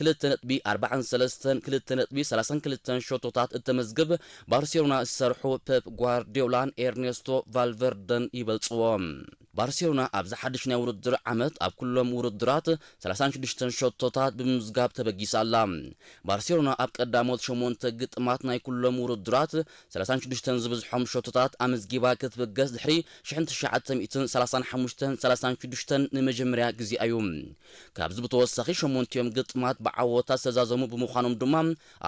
ክልተ ነጥቢ ኣርባዓን ሰለስተን፣ ክልተ ነጥቢ ሰላሳን ክልተን ሸቶታት እተመዝግብ ባርሴሎና ዝሰርሑ ፔፕ ጓርዲዮላን ኤርኔስቶ ቫልቨርደን ይበልጽዎ። ባርሴሎና ኣብዚ ሓድሽ ናይ ውድድር ዓመት ኣብ ኩሎም ውድድራት ሰላሳን ሽዱሽተን ሸቶታት ብምምዝጋብ ተበጊሳ ኣላ። ባርሴሎና ኣብ ቀዳሞት ሸሞንተ ግጥማት ናይ ኩሎም ውድድራት ሰላሳን ሽዱሽተን ዝበዝሖም ሸቶታት ኣመዝጊባ ክትብገስ ድሕሪ ሽሕን ትሽዓተ ሚእትን ሰላሳን ሓሙሽተን ሰላሳን ሽዱሽተን ንመጀመርያ ግዜኣ እዩ። ካብዚ ብተወሳኺ ሸሞንቲኦም ግጥማት ብዓወታ ዝተዛዘሙ ብምዃኖም ድማ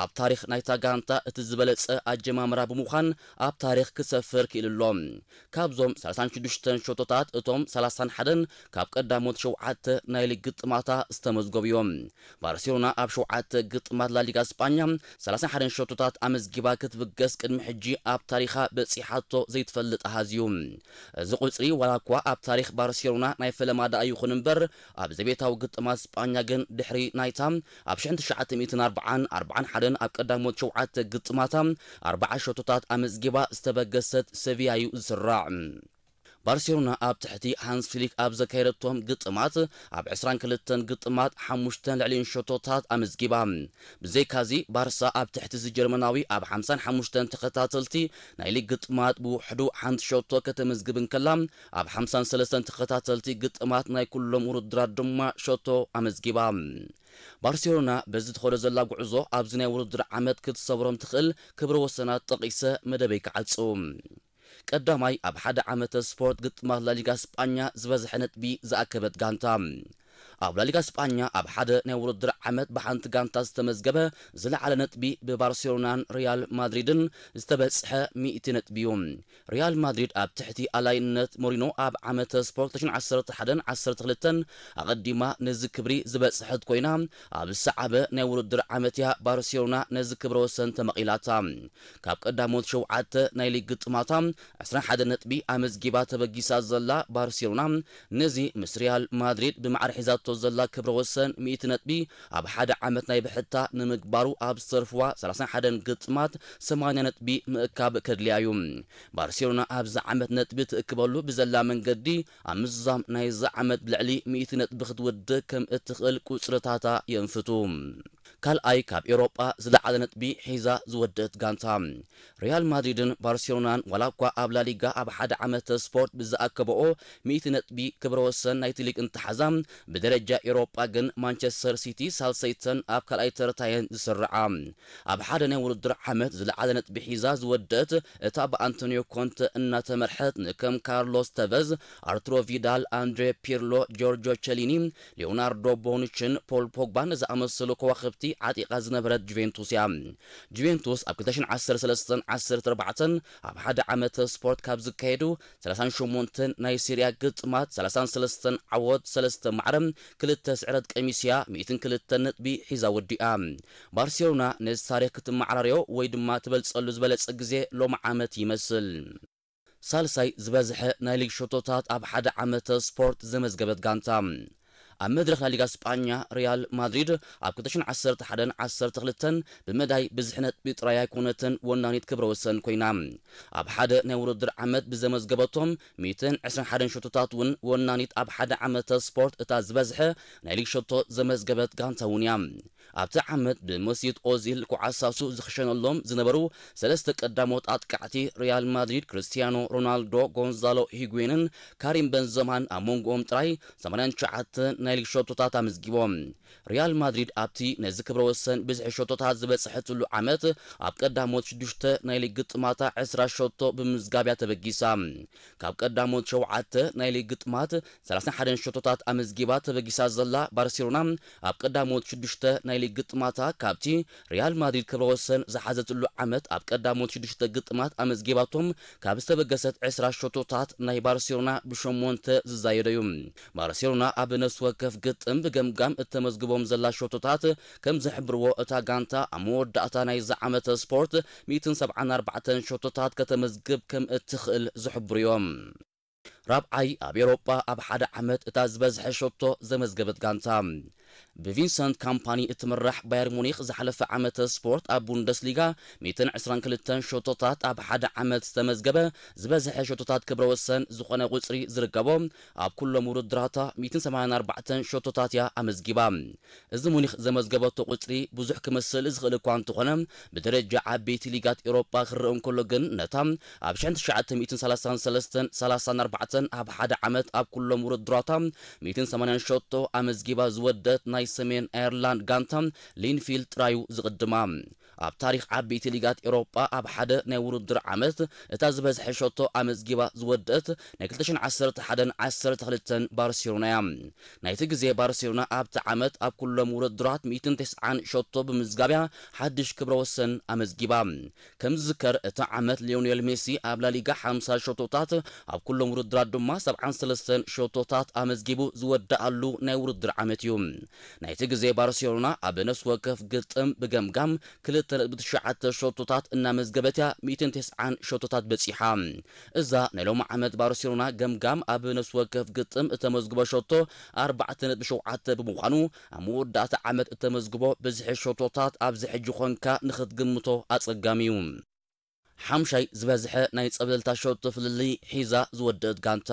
ኣብ ታሪኽ ናይታ ጋንታ እቲ ዝበለጸ ኣጀማምራ ብምዃን ኣብ ታሪኽ ክሰፍር ክኢሉ ኣሎ። ካብዞም ሰላሳን ሽዱሽተን ሸቶታት እቶም ሰላሳን ሓደን ካብ ቀዳሞት ሸውዓተ ናይ ሊግ ግጥማታ ዝተመዝገቡ እዮም። ባርሴሎና ኣብ ሸውዓተ ግጥማት ላሊጋ ስጳኛ ሰላሳን ሓደን ሸቶታት ኣመዝጊባ ክትብገስ ቅድሚ ሕጂ ኣብ ታሪኻ በጺሓቶ ዘይትፈልጥ ኣሃዝ እዩ። እዚ ቁጽሪ ዋላ እኳ ኣብ ታሪኽ ባርሴሎና ናይ ፈለማ ደኣ ይኹን እምበር ኣብ ዘቤታዊ ግጥማት ስጳኛ ግን ድሕሪ ናይታ ኣብ ሽሕን ትሽዓተ ሚእትን ኣርባዓን ኣርባዓን ሓደን ኣብ ቀዳሞት ሸውዓተ ግጥማታ ኣርባዓ ሸቶታት ኣመዝጊባ ዝተበገሰት ሰቪያ እዩ ዝስራዕ። ባርሴሎና ኣብ ትሕቲ ሃንስ ፍሊክ ኣብ ዘካየደቶም ግጥማት ኣብ ዕስራን ክልተን ግጥማት ሓሙሽተን ልዕሊኡን ሸቶታት ኣመዝጊባ። ብዘይካዚ ባርሳ ኣብ ትሕቲ እዚ ጀርመናዊ ኣብ ሓምሳን ሓሙሽተን ተኸታተልቲ ናይ ሊግ ግጥማት ብውሕዱ ሓንቲ ሸቶ ከተመዝግብ እንከላ ኣብ ሓምሳን ሰለስተን ተኸታተልቲ ግጥማት ናይ ኩሎም ውድድራት ድማ ሸቶ ኣመዝጊባ። ባርሴሎና በዚ ትኸዶ ዘላ ጉዕዞ ኣብዚ ናይ ውድድር ዓመት ክትሰብሮም ትኽእል ክብረ ወሰናት ጠቒሰ መደበይ ክዓጹ። ቀዳማይ ኣብ ሓደ ዓመተ ስፖርት ግጥማት ላሊጋ ስጳኛ ዝበዝሐ ነጥቢ ዝኣከበት ጋንታ። ኣብ ላሊጋ ስጳኛ ኣብ ሓደ ናይ ውድድር ዓመት ብሓንቲ ጋንታ ዝተመዝገበ ዝለዓለ ነጥቢ ብባርሴሎናን ሪያል ማድሪድን ዝተበጽሐ ሚእቲ ነጥቢ እዩ። ሪያል ማድሪድ ኣብ ትሕቲ ኣላይነት ሞሪኖ ኣብ ዓመተ ስፖርት ክልተ ሽሕን ዓሰርተ ሓደን ዓሰርተ ክልተን ኣቐዲማ ነዚ ክብሪ ዝበጽሐት ኮይና ኣብ ዝሰዓበ ናይ ውድድር ዓመት እያ ባርሴሎና ነዚ ክብረ ወሰን ተመቒላታ። ካብ ቀዳሞት ሸውዓተ ናይ ሊግ ግጥማታ ዕስራን ሓደን ነጥቢ ኣመዝጊባ ተበጊሳ ዘላ ባርሴሎና ነዚ ምስ ሪያል ማድሪድ ብማዕረ ሒዛቶ ዘላ ክብረ ወሰን ሚእቲ ነጥቢ ኣብ ሓደ ዓመት ናይ ብሕታ ንምግባሩ ኣብ ዝተርፍዋ ሰላሳን ሓደን ግጥማት ሰማንያ ነጥቢ ምእካብ ከድልያ እዩ። ባርሴሎና ኣብዚ ዓመት ነጥቢ ትእክበሉ ብዘላ መንገዲ ኣብ ምዝዛም ናይዚ ዓመት ብልዕሊ ሚእቲ ነጥቢ ክትውድእ ከም እትኽእል ቁጽርታታ የንፍቱ። ካልኣይ ካብ ኤውሮጳ ዝለዓለ ነጥቢ ሒዛ ዝወደት ጋንታ። ሪያል ማድሪድን ባርሴሎናን ዋላ እኳ ኣብ ላሊጋ ኣብ ሓደ ዓመተ ስፖርት ብዝኣከበኦ ሚእቲ ነጥቢ ክብረ ወሰን ናይቲ ሊግ እንተሓዛ፣ ብደረጃ ኤውሮጳ ግን ማንቸስተር ሲቲ ሳልሰይተን ኣብ ካልኣይ ተርታየን ዝስርዓ። ኣብ ሓደ ናይ ውድድር ዓመት ዝለዓለ ነጥቢ ሒዛ ዝወደት እታ ብኣንቶኒዮ ኮንተ እናተመርሐት ንከም ካርሎስ ተቨዝ፣ ኣርቱሮ ቪዳል፣ ኣንድሬ ፒርሎ፣ ጆርጆ ቸሊኒ፣ ሊዮናርዶ ቦኑችን ፖል ፖግባን ዝኣመሰሉ ከዋኽብቲ ዓጢቓ ዝነበረት ጁቬንቱስ እያ። ጁቬንቱስ ኣብ ክልተ ሽሕን ዓሰርተ ሰለስተን ዓሰርተ ኣርባዕተን ኣብ ሓደ ዓመተ ስፖርት ካብ ዝካየዱ ሰላሳን ሸሞንተን ናይ ሴሪያ ግጥማት ሰላሳን ሰለስተን ዓወት፣ ሰለስተ ማዕረ፣ ክልተ ስዕረት ቀሚስያ ሚእትን ክልተን ነጥቢ ሒዛ ወዲኣ። ባርሴሎና ነዚ ታሪኽ ክትመዓራርዮ ወይ ድማ ትበልጸሉ ዝበለጸ ግዜ ሎሚ ዓመት ይመስል። ሳልሳይ ዝበዝሐ ናይ ሊግ ሸቶታት ኣብ ሓደ ዓመተ ስፖርት ዘመዝገበት ጋንታ። ኣብ መድረኽ ናይ ሊጋ ስጳኛ ሪያል ማድሪድ ኣብ ክልተ ሽሕን ዓሰርተ ሓደን ዓሰርተ ክልተን ብመዳይ ብዝሒ ነጥቢ ጥራይ ኣይኮነትን ወናኒት ክብረ ወሰን ኮይና። ኣብ ሓደ ናይ ውድድር ዓመት ብዘመዝገበቶም ሚእትን ዕስራን ሓደን ሸቶታት እውን ወናኒት ኣብ ሓደ ዓመተ ስፖርት እታ ዝበዝሐ ናይ ሊግ ሸቶ ዘመዝገበት ጋንታ እውን እያ። ኣብቲ ዓመት ብመሲት ኦዚል ክዓሳሱ ዝኽሸነሎም ዝነበሩ ሰለስተ ቀዳሞት ኣጥቃዕቲ ሪያል ማድሪድ ክርስቲያኖ ሮናልዶ፣ ጎንዛሎ ሂጉዌንን ካሪም በንዘማን ኣብ መንጎኦም ጥራይ ሰማንያን ትሽዓተን ናይ ሊግ ሸቶታት ኣመዝጊቦም። ሪያል ማድሪድ ኣብቲ ነዚ ክብረ ወሰን ብዝሒ ሸቶታት ዝበጽሐትሉ ዓመት ኣብ ቀዳሞት ሽዱሽተ ናይ ሊግ ግጥማታ ዕስራ ሸቶ ብምምዝጋብ እያ ተበጊሳ። ካብ ቀዳሞት ሸውዓተ ናይ ሊግ ግጥማት ሰላሳን ሓደን ሸቶታት ኣመዝጊባ ተበጊሳ ዘላ ባርሴሎና ኣብ ቀዳሞት ሽዱሽተ ናይ ሊግ ግጥማታ ካብቲ ሪያል ማድሪድ ክብረ ወሰን ዝሓዘትሉ ዓመት ኣብ ቀዳሞት ሽዱሽተ ግጥማት ኣመዝጊባቶም ካብ ዝተበገሰት ዕስራ ሸቶታት ናይ ባርሴሎና ብሸሞንተ ዝዛየደ እዩ። ባርሴሎና ኣብ ነፍሲ ወከፍ ግጥም ብገምጋም እተመዝግቦም ዘላ ሸቶታት ከም ዝሕብርዎ እታ ጋንታ ኣብ መወዳእታ ናይዚ ዓመተ ስፖርት ሚእትን ሰብዓን ኣርባዕተን ሸቶታት ከተመዝግብ ከም እትኽእል ዝሕብሩ እዮም። ራብዓይ ኣብ ኤውሮጳ ኣብ ሓደ ዓመት እታ ዝበዝሐ ሸቶ ዘመዝገበት ጋንታ። ብቪንሰንት ካምፓኒ እትምራሕ ባየር ሙኒኽ ዝሓለፈ ዓመተ ስፖርት ኣብ ቡንደስሊጋ ሚእትን ዕስራን ክልተን ሸቶታት ኣብ ሓደ ዓመት ዝተመዝገበ ዝበዝሐ ሸቶታት ክብረ ወሰን ዝኾነ ቁጽሪ ዝርከቦ ኣብ ኩሎም ውድድራታ ሚእትን ሰማንያን ኣርባዕተን ሸቶታት እያ ኣመዝጊባ። እዚ ሙኒኽ ዘመዝገበቶ ቁጽሪ ብዙሕ ክመስል ዝኽእል እኳ እንተኾነ፣ ብደረጃ ዓበይቲ ሊጋት ኤውሮጳ ክረአ እንከሎ ግን፣ ነታ ኣብ ሽሕን ትሽዓተ ሚእትን ሰላሳን ሰለስተን ሰላሳን ኣርባዕተን ኣብ ሓደ ዓመት ኣብ ኩሎም ውድድራታ ሚእትን ሰማንያን ሸቶ ኣመዝጊባ ዝወደት ናይ ሰሜን ኣየርላንድ ጋንታ ሊንፊልድ ጥራዩ ዝቕድማ። ኣብ ታሪኽ ዓበይቲ ሊጋት ኤውሮጳ ኣብ ሓደ ናይ ውድድር ዓመት እታ ዝበዝሐ ሸቶ ኣመዝጊባ ዝወደት ናይ ክልተ ሽሕን ዓሰርተ ሓደን ዓሰርተ ክልተን ባርሴሎና እያ። ናይቲ ግዜ ባርሴሎና ኣብቲ ዓመት ኣብ ኩሎም ውድድራት ሚእትን ተስዓን ሸቶ ብምዝጋብያ ሓድሽ ክብረ ወሰን ኣመዝጊባ። ከም ዝዝከር፣ እቲ ዓመት ሊዮኔል ሜሲ ኣብ ላሊጋ ሓምሳ ሸቶታት፣ ኣብ ኩሎም ውድድራት ድማ ሰብዓን ሰለስተን ሸቶታት ኣመዝጊቡ ዝወደኣሉ ናይ ውድድር ዓመት እዩ። ናይቲ ግዜ ባርሴሎና ኣብ ነፍሲ ወከፍ ግጥም ብገምጋም ክልተ ነጥቢ ትሽዓተ ሸቶታት እናመዝገበት እያ ሚእትን ተስዓን ሸቶታት በጺሓ። እዛ ናይ ሎሚ ዓመት ባርሴሎና ገምጋም ኣብ ነፍሲ ወከፍ ግጥም እተመዝግቦ ሸቶ ኣርባዕተ ነጥቢ ሸውዓተ ብምዃኑ፣ ኣብ መወዳእታ ዓመት እተመዝግቦ ብዝሒ ሸቶታት ኣብዚ ሕጂ ኾንካ ንኽትግምቶ ኣጸጋሚ እዩ። ሓምሻይ ዝበዝሐ ናይ ጸብለልታ ሸቶ ፍልልይ ሒዛ ዝወደአት ጋንታ።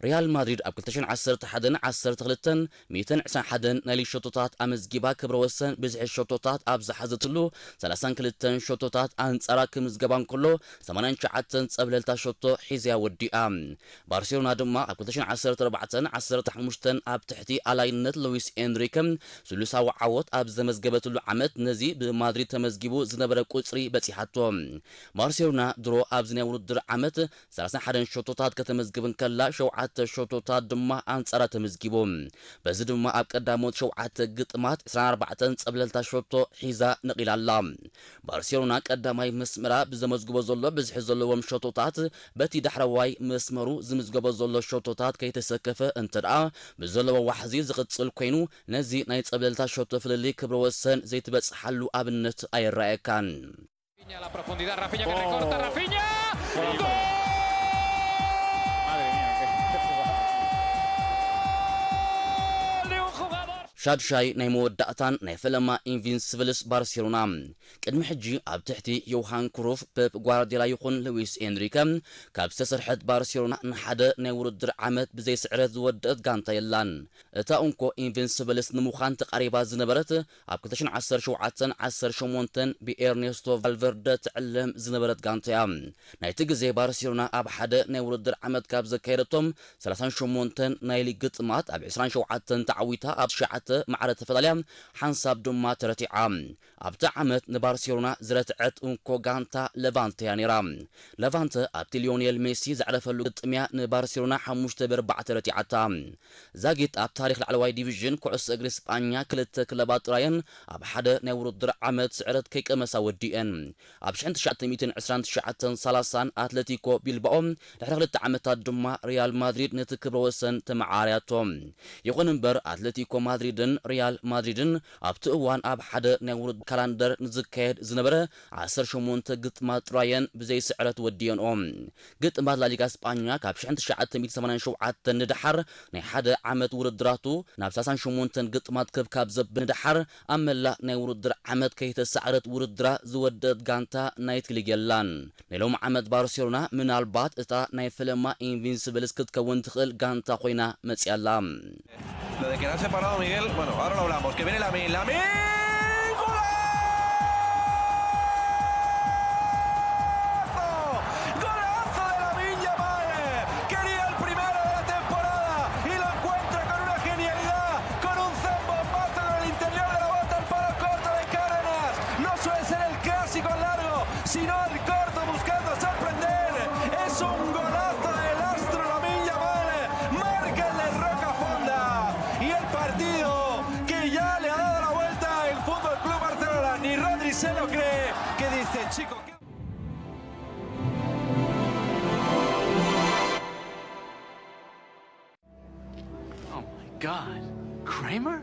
ሪያል ማድሪድ ኣብ ክልተ ሽሕን ዓሰርተ ሓደን ዓሰርተ ክልተን ሚእትን ዕስራን ሓደን ናይ ሊግ ሸቶታት ኣመዝጊባ ክብረ ወሰን ብዝሒ ሸቶታት ኣብ ዝሓዘትሉ ሰላሳን ክልተን ሸቶታት ኣንጻራ ክምዝገባ እንከሎ፣ ሰማንያን ትሽዓተን ጸብለልታ ሸቶ ሒዛያ ወዲኣ። ባርሴሎና ድማ ኣብ ክልተ ሽሕን ዓሰርተ ኣርባዕተን ዓሰርተ ሓሙሽተን ኣብ ትሕቲ ኣላይነት ሉዊስ ኤንሪከ ስሉሳዊ ዓወት ኣብ ዘመዝገበትሉ ዓመት፣ ነዚ ብማድሪድ ተመዝጊቡ ዝነበረ ቁጽሪ በጺሓቶ። ባርሴሎና ድሮ ኣብዚ ናይ ውድድር ዓመት ሰላሳን ሓደን ሸቶታት ከተመዝግብ እንከላ፣ ሸውዓተ ሸቶታት ድማ ኣንጻራ ተመዝጊቡ። በዚ ድማ ኣብ ቀዳሞት ሸውዓተ ግጥማት ዕስራን ኣርባዕተን ጸብለልታ ሸቶ ሒዛ ነቒላ ኣላ። ባርሴሎና ቀዳማይ መስመራ ብዘመዝግቦ ዘሎ ብዝሒ ዘለዎም ሸቶታት፣ በቲ ዳሕረዋይ መስመሩ ዝምዝገቦ ዘሎ ሸቶታት ከይተሰከፈ እንተ ደኣ ብዘለዎ ዋሕዚ ዝቕጽል ኮይኑ፣ ነዚ ናይ ጸብለልታ ሸቶ ፍልልይ ክብረ ወሰን ዘይትበጽሓሉ ኣብነት ኣይረኣየካን። Rafinha a la profundidad, Rafinha que recorta, Rafinha. ¡Gol! Madre mía, qué... ሻድሻይ ናይ መወዳእታን ናይ ፈለማ ኢንቪንስብልስ ባርሴሎና። ቅድሚ ሕጂ ኣብ ትሕቲ ዮሃን ክሩፍ፣ ፔፕ ጓርዲዮላ ይኹን ሉዊስ ኤንሪከ ካብ ዝተሰርሐት ባርሴሎና ንሓደ ናይ ውድድር ዓመት ብዘይ ስዕረት ዝወደአት ጋንታ የላን። እታ እንኮ ኢንቪንስብልስ ንምዃን ተቓሪባ ዝነበረት ኣብ ክልተ ሽሕን ዓሰርተ ሸውዓተን ዓሰርተ ሸሞንተን ብኤርኔስቶ ቫልቨርደ ትዕለም ዝነበረት ጋንታ እያ። ናይቲ ግዜ ባርሴሎና ኣብ ሓደ ናይ ውድድር ዓመት ካብ ዘካየደቶም ሰላሳን ሸሞንተን ናይ ሊግ ግጥማት ኣብ ዕስራን ሸውዓተን ተዓዊታ ኣብ ትሽዓተ ማዕረ ተፈላልያ ሓንሳብ ድማ ተረቲዓ። ኣብቲ ዓመት ንባርሴሎና ዝረትዐት እንኮ ጋንታ ለቫንተ እያ ነይራ። ለቫንተ ኣብቲ ሊዮኔል ሜሲ ዘዕረፈሉ ግጥም እያ ንባርሴሎና ሓሙሽተ ብኣርባዕተ ረቲዓታ። ዛጊት ኣብ ታሪኽ ላዕለዋይ ዲቪዥን ኩዕሶ እግሪ ስጳኛ ክልተ ክለባት ጥራየን ኣብ ሓደ ናይ ውድድር ዓመት ስዕረት ከይቀመሳ ወዲኤን። ኣብ ሽሕን ትሽዓተ ሚእትን ዕስራን ትሽዓተን ሰላሳን ኣትለቲኮ ቢልባኦ፣ ድሕሪ ክልተ ዓመታት ድማ ሪያል ማድሪድ ነቲ ክብረ ወሰን ተመዓራርያቶ። ይኹን እምበር፣ ኣትለቲኮ ማድሪድን ሪያል ማድሪድን ኣብቲ እዋን ኣብ ሓደ ናይ ውድድር ካላንደር ንዝካየድ ዝነበረ ዓሰርተ ሸሞንተ ግጥማት ጥራየን ብዘይ ስዕረት ወዲኤንኦ። ግጥማት ላሊጋ ስጳኛ ካብ ሽሕን ትሽዓተ ሚእትን ሰማንያን ሸውዓተን ንደሓር ናይ ሓደ ዓመት ውድድራቱ ናብ ሰላሳን ሸሞንተን ግጥማት ክብ ካብ ዘብል ንደሓር ኣብ መላእ ናይ ውድድር ዓመት ከይተሳዕረት ውድድራ ዝወደት ጋንታ ናይቲ ሊግ የላን። ናይ ሎሚ ዓመት ባርሴሎና ምናልባት እታ ናይ ፈለማ ኢንቪንስብልስ ክትከውን ትኽእል ጋንታ ኮይና መጽያ ኣላ። Lo de quedarse parado, Miguel, bueno, ahora lo hablamos. Que viene Lamine, Lamine, ¡golazo! ¡Golazo de Lamine Yamal! Quería el primero de la temporada y lo encuentra con una genialidad, con un zambombazo con el interior de la bota al palo corto de Cárdenas. No suele ser el clásico al largo, sino al corto buscando sorprender. Es un golazo del astro Lamine Yamal. Marca el de Roca Fonda. Y el partido que ya le ha dado la vuelta el Fútbol Club Barcelona. Ni Rodri se lo cree. Que dice, chico, ¿qué? Oh my God. Kramer?